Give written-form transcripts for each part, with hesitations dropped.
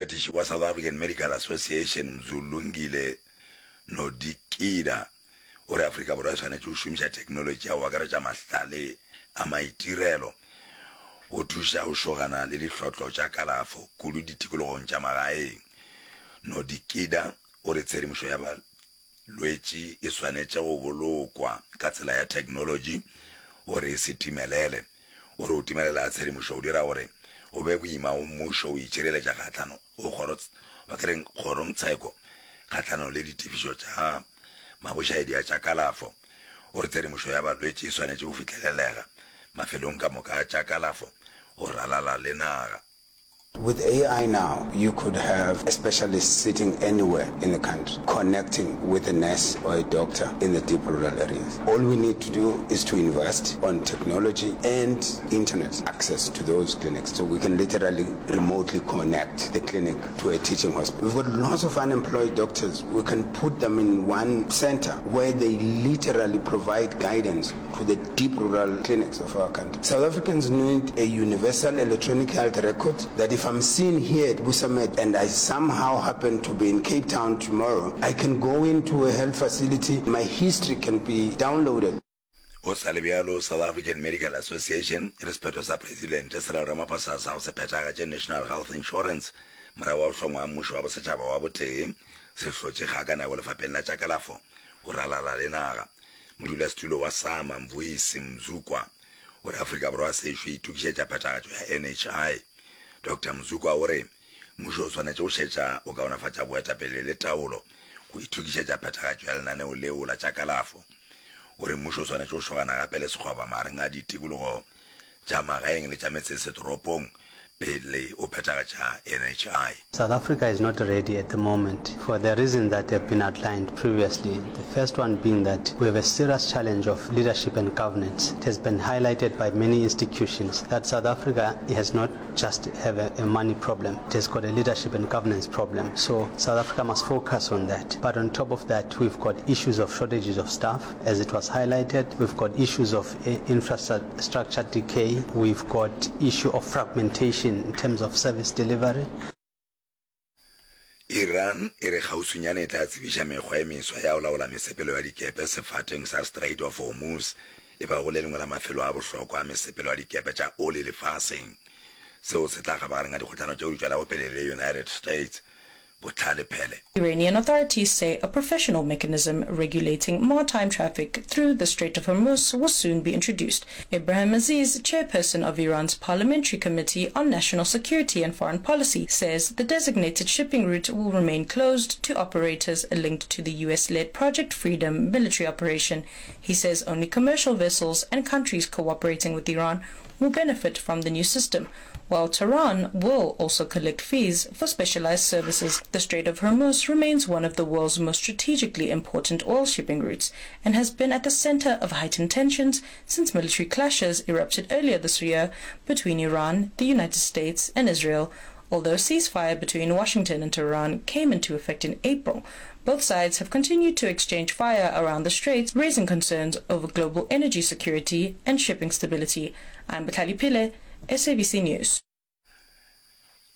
Moetiši wa South African Medical Association Mzulungile Nodikida o re Afrika Borwa e swanetše go šomiša theknolotši ya go akaretša mahlale a maitirelo go thuša go šogana le dihlotlo tša kalafo kudu ditikologong tša magaeng. Nodikida o re tshedimošo ya Lwetši e swanetše go bolokwa ka tsela ya theknolotši gore e se timelele. O re go timelela ga tshedimošo go dira gore go be boima go mmušo go itšhireletša kgahlano go kgoro, ba ke reng, kgorongtsheko kgahlanong le ditefišo tša mabošaedi a tša kalafo. O re tshedimošo ya balwetši e swanetše go fihlelelega mafelong ka moka a tša kalafo go ralala le naga. With AI now, you could have a specialist sitting anywhere in the country, connecting with a nurse or a doctor in the deep rural areas. All we need to do is to invest on technology and internet access to those clinics, so we can literally remotely connect the clinic to a teaching hospital. We've got lots of unemployed doctors. We can put them in one center where they literally provide guidance to the deep rural clinics of our country. South Africans need a universal electronic health record that if I'm seen here at Busamed and I somehow happen to be in Cape Town tomorrow, I can go into a health facility, my history can be downloaded. Go sa le bjalo, South African Medical Association e re sephetho sa Presidente Cyril Ramaphosa sa go se phethagatše National Health Insurance morago ga go hlongwa ga mmušo wa bosetšhaba wa botee se hlotše kgakanego lefapeng la tša kalafo go ralala le naga. Modulasetulo wa SAMA, Mvuyisi Mzukwa, o re Afrika Borwa sešo e itokišetša phethagatšo ya NHI. Doctor Mzukwa o re mmušo o swanetše go šetša go kaonafatša boetapele le taolo go itokišetša phethagatšo ya lenaneo leo la tša kalafo. O re mmušo o swanetše go šogana gape le sekgoba magareng a ditikologo tša magaeng le tša metsesetoropong pele o phethagatša NHI. South Africa is not ready at the moment for the reasons that have been outlined previously, the first one being that we have a serious challenge of leadership and governance. It has been highlighted by many institutions that South Africa has not just have a, a money problem, it has got a leadership and governance problem. So South Africa must focus on that. But on top of that, we've got issues of shortages of staff, as it was highlighted. We've got issues of infrastructure decay, we've got issue of fragmentation in terms of service delivery. Iran e re kgauswinyane e tla tsebiša mekgwa e meswa ya go laola mesepelo ya dikepe sefateng sa Strait of Hormuz, e bago le lengwe la mafelo a bohlokwa a mesepelo ya dikepe tša oli lefaseng. Seo se tla kgabagareng ga dikgohlano tšeo di tšwelago pele le United States. Bohlale Phele. Iranian authorities say a professional mechanism regulating maritime traffic through the Strait of Hormuz will soon be introduced. Ibrahim Aziz, chairperson of Iran's Parliamentary Committee on National Security and Foreign Policy, says the designated shipping route will remain closed to operators linked to the US-led Project Freedom military operation. He says only commercial vessels and countries cooperating with Iran will benefit from the new system, while Tehran will also collect fees for specialized services. The Strait of Hormuz remains one of the world's most strategically important oil shipping routes and has been at the center of heightened tensions since military clashes erupted earlier this year between Iran, the United States, and Israel. Although a ceasefire between Washington and Tehran came into effect in April, both sides have continued to exchange fire around the straits, raising concerns over global energy security and shipping stability. I'm Batali Pile, SABC News.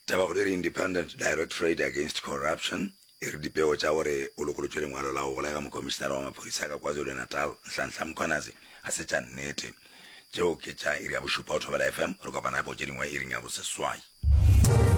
Tabakgolo e re Independent Directorate Against Corruption e re dipego tša gore o lokolotšwe lengwalo la go golega mokomišenara wa maphodisa ka KwaZulu-Natal Nhlanhla Mkhwanazi ga se tša nnete. Tšeo ke tša iri ya bošupa go Thobela FM. Re kopana gape go tše dingwe iring ya boseswai.